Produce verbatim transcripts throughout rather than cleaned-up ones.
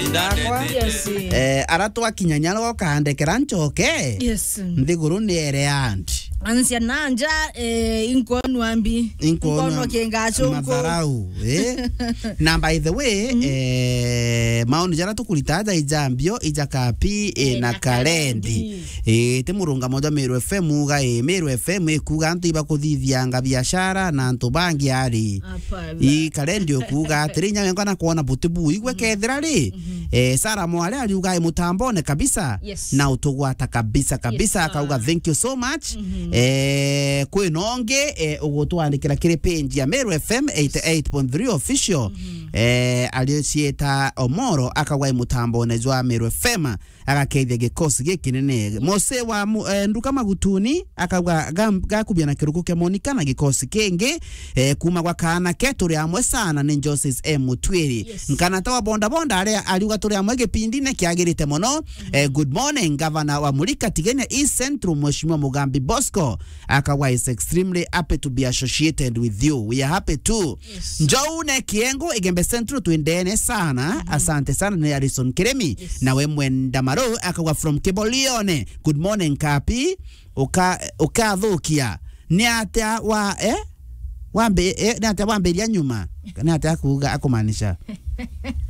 Ndakwa. Yes. Eh, ara twakinya nyara ukandekera ncoke. Yes. Nthiguru ni ere andi. Ansia nanja, eh, inkwonwa mbi. Inkwonwa kingacu nku. Matharau, eh? Na by the way, eh, maoni jara tukurita aja ijambio, ija kapi, eh, na karendi. Eh, ti murungamo jwa Meru F M uga, eh, Meru F M ikuga antu ibakuthithianga biashara na antu bangi ari. Ii karendi ukuga atiri, inya wengwa na kwona buti bu igwe kethira ri, eh, Sara Mwale ariuga e mutambone kabisa. Yes. Na utugwata kabisa kabisa, akauga thank you so much. Eh, kwina ungi, eh, ugutwandikira kiri page ya Meru F M eighty eight point three official. Eh, ariocieta Omoro akauga e mutambone jwa Meru F M. Agakethia gikosi gikinene. Mose wa mu-, eh, nduka Magutuni akauga gam-, gakubia na kiruku kia Monica na gikosi kingi, eh, kuma gwa kaana ke turi amwe sana ni Joses M Mutwiri. Yes. Nkanata wa boda boda aria ariuga turi amwe gipindine kiagirite mono. Eh, good morning, Governor wa Murika Tigania East Central, Mheshimiwa Mugambi Bosco. Akauga is extremely happy to be associated with you. We are happy too. Yes. Njoune Kiengo, Igembe Central, twendene sana. Asante sana, ni Harrison Kiremi. Yes. Nawe Mwenda Maro, akauga from Kibolione. Good morning, Kapi. Uka-, ukathukia. Ni atia wa, eh? Wambi-, eh, ni atia wambiria nyuma? Ni atia akuuga, akumaanisha?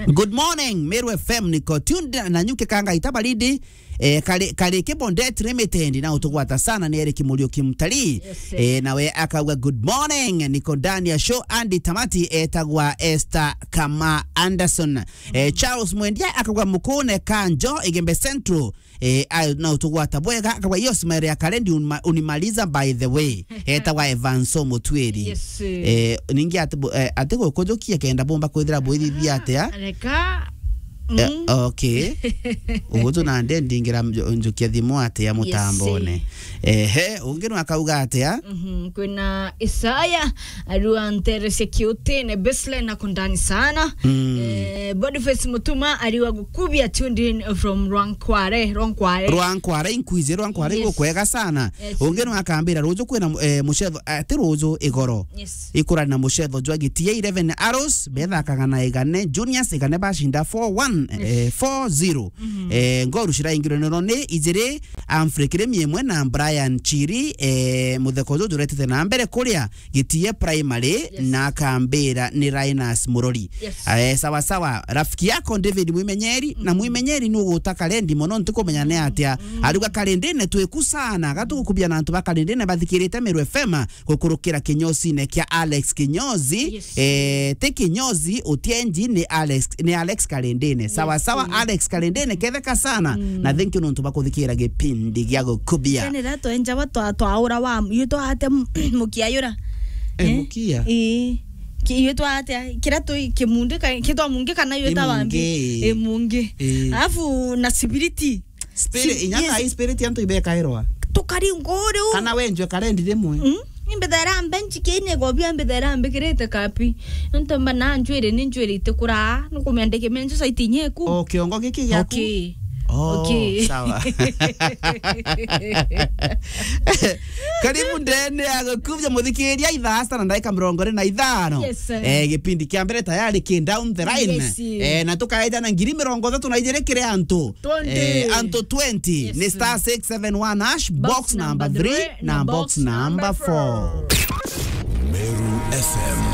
Good morning, Meru F M, niko tuned na nyuke kanga itabaridi. Eh, kari, kari Kibondet Limited na utugwata sana ni Eric Muriuki Mtalii. Yes, sir. Eh, nawe akauga, "Good morning, niko ndani ya show, Andy Tamati, etagwa Esther Kama Anderson." Eh, Charles Mwendia akauga, "Mukune Kanjo, Igembe Central." Eh, ayo na utugwata bwega, akauga, "Hiyo smile ya karendi unima-, unimaliza by the way." Etagwa Evanso Mutwiri. Yes, sir. Eh, ningi ati bu-, eh, ati gukujukia kenda bomba kwithira bwithithia atia? Reka. Eh, mm. Okay. Ugutu na nde ndingira nju-, njukia thimu atia mutambone. Yes, eh. Ehe, ungi no akauga atia? Mhm, kwina Isaya, ariwa nteresia kiutine, Baseline na kundani sana. Mm. Eh, Boniface Mutuma, ariwa gukubia tuned in from Rwankware, Rwankware. Rwankware, inkwije, Rwankware, yes. Gukwega sana. Yes. Ungi no akambira, ruju kwina, eh, mucetho, eh, ti ruju, igoro. Yes. Ikurani na mucetho jwa Gitie eleven Arrows, bethakaga na Igane Juniors, Igane bashinda four one, eh, four zero. Mhm. Eh, ngoru ciraingirwe nero ni ijiri, Humphrey Kirimi imwe na Brian Chiri, eh, mutheko juju juretete na mbere kuria Gitie Primary, yes, na akambira ni Linus Murori. Yes. Eh, sawa sawa, rafiki yako David Mwimenyeri, na Mwimenyeri ni uguta karendi mono, ntikumenya ni atia. Mm. Ariuga karendine twiku sana, gatugukubia na antu ba karendine bathikirite Meru F M, gukurukira kinyosine kia Alex Kinyozi. Yes. Eh, ti Kinyozi Utienji, ni Alex, ni Alex Karendene. Sawa, yes, sawa, mm. Alex Karendene, ketheka sana. Mm. Na thank you nontu bakuthikira gipindi gia gukubia. Tene ra twenjawa twa-, twaura wa, yu twate m-, mukia yura. Eh, eh? Mukia? Eh. Ki-, yu twate, kira tu kimundi ka-, kitwa mungi kana yu ta wambi? Imungi. Imungi. Eh. Alafu na sibiriti. Spirit, si-, inya yes. Thaa ii spirit antu ibekairwa. Tukari nguri u. Kana wenjwe karendi rimwe. Mm? Imbithera mbe njikiine gobia, imbithera mbikirite kapi. Nontu mba na njwiri, ni njwiri itikuraa, nukumia ndikime nju saiti inya iku. O kiongo giki giaku? Okay. Oh, okay. Sawa. Karibu ndene ya gukubia muthikiria ithaa sita na ndagika mirongo iri na ithano. Yes, sir. Eh, gipindi kia mbere tayari ki down the line. Yes, sir. Eh, na tukaeja na ngiri mirongo ithatu na ijiri kiri antu. Twenty. Eh, antu twenty. Yes, ni sir. Star six seven one hash, box number three, na box number four. Meru F M.